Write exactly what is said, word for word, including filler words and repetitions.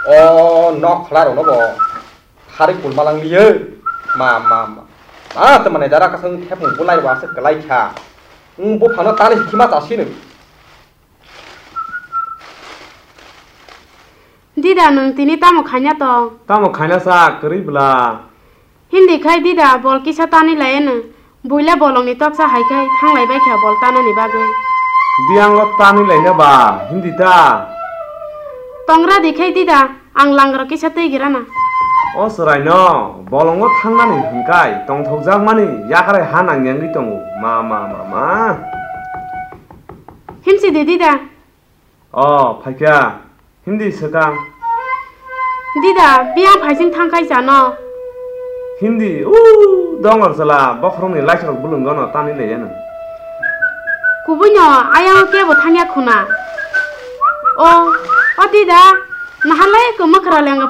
O nok khwlarokno bo harwi kulmalang liyo. Ma, ma, ma. Ma, tei mane jara kasang thepung bulai ba se kwlai kha. Wng buphangno tani hikima chasino. Dida, nwng tini tamo khaina tong? Tamo khaina sa kwrwi bwla? Hindi khai dida, bol kisa tani lai eno. Buila bolongni toksa hai khai thanglai bai kha bol tanani bagwi. Biyango tani laina ba, hindi ta? Tongra di khai dida, ang langra kisa twi girana. O chwraino bolongo thangnani hwnkai tongthokjakmani yakrai ha nangyangwi tongo. Ma, ma, ma, ma. Himsi di dida. O, phaikha. Hindi swkang. Dida, biyang phaising thangkhai chano. Hindi, u, dongor sala, bokhorokni laisorok bulung gono tani leyano. Kubuino ayang kebo thangya khuna. O, o dida, nahalai ko makra lenga